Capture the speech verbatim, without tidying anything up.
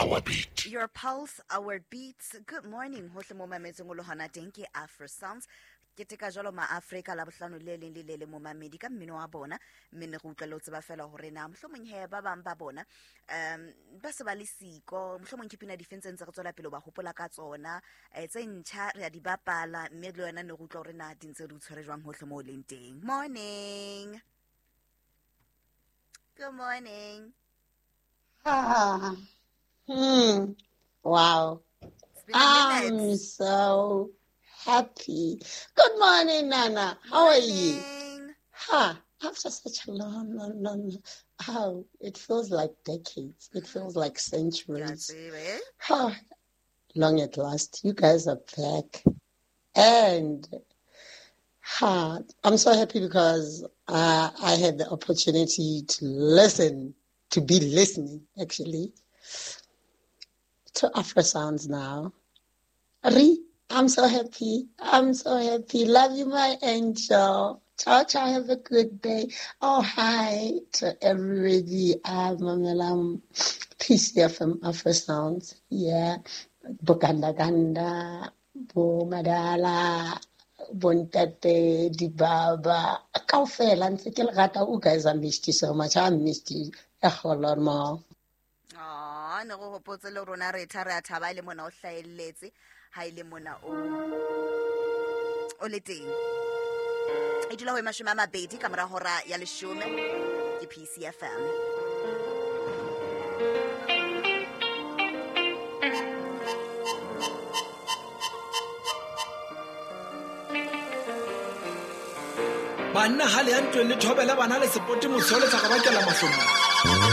our beat. Your pulse, our beats. Good morning. Hohle mo mametseng o le hona teng ke Afro Sounds. Keteka jwalo ma-Afrika la bohlano le leng le le leng momamedi ka mmino wa bona, mme ne re utlwa le ho tseba fela hore na mohlomong he ba bang ba bona um ba se ba le siko, mohlomong ke pina difeng tse ntse re tswela pele ho ba hopola ka tsona, eh, tse ntjha re a di bapala, mme le yona ne re utlwa hore na di ntse di o tshwere jwang hohle mo o leng teng. Morning. Good morning. Ah, hmm. Wow. It's been a minute. I'm so happy. Good morning, Nana. How are you? Morning. Ha, after such a long, long, long, how it feels like decades. It feels like Ke a centuries. tseba, eh? Ha, long at last. You guys are back. And ha, I'm so happy because uh, I had the opportunity to listen, to be listening, actually, to Afro Sounds now. Ri, I'm so happy. I'm so happy. Love you, my angel. Ciao, ciao. Have a good day. Oh, hi to everybody. I'm Mamelam P C F M Afro Sounds. Yeah. Bokanda Ganda, Bo Madala, Bontate, Dibaba. Kaofela, ntse ke le rata. You guys, I missed you so much. I missed you a whole lot more. Aw, ne re hopotse le rona re tha re a thaba le mona o hlahelletse, ha e le mona o, o le teng. E dula ho e mashome a mabedi ka mora hora ya leshome ke P C F M. Banna ha le ya ntweng le thobele bana le sepote mosole sa ka bakela mahlomola.